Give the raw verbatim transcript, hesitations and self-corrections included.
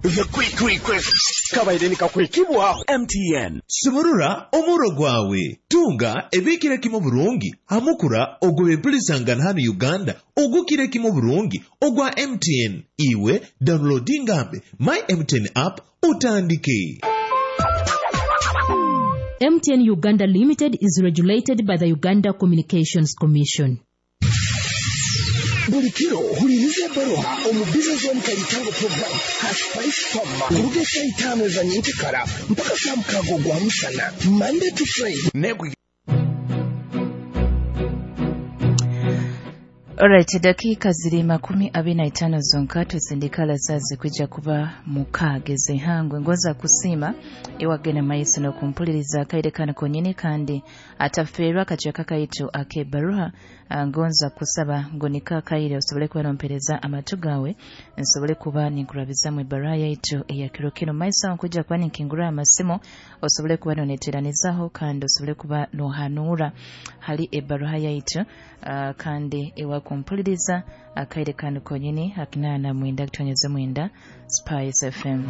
The Quick Request kabaire nikakwekibwaho M T N. Sumurura omuro gwawe, tunga ebikira kimu burungi hamukura ogw'ebempulisangana hano Uganda ogukira kimu burungi ogwa M T N. Iwe downloadingambe My M T N app utandike. M T N Uganda Limited is regulated by the Uganda Communications Commission. Buli kiro huliriza ebbaruha omu Business Zone Kaitango program ha Spice Farm kuruga esaa itaano eza nyenkekara mpaka saa mukaaga ogwa musana, Monday to Friday. Negwi. Alright, dakika ziri makumi abiri na itaano zonka tusindikala saa kwija kuba mukaaga ez'ihangwe. Ngoza kusiima ewagenda maiso n'okumpuliriza akaire kano konyini, kandi atafeerwa akacweka kaitu ak'ebbaruha. Ah, ngonza kusaba ngu niko akaire osobole kuba nompereza amatu gawe, nsobole kuba ninkurabizamu ebbaruha yaitu eya kiro kino. Maiso aho nkwija kuba ninkingura amasimu, osobole kuba noneteranizaho kandi osobole kuba nohanuura hali ebbaruha yaitu. Ah, kandi ewakumpuliriza akaire kano konyini akinaana mwenda kutonyeza mwenda, Spice F M.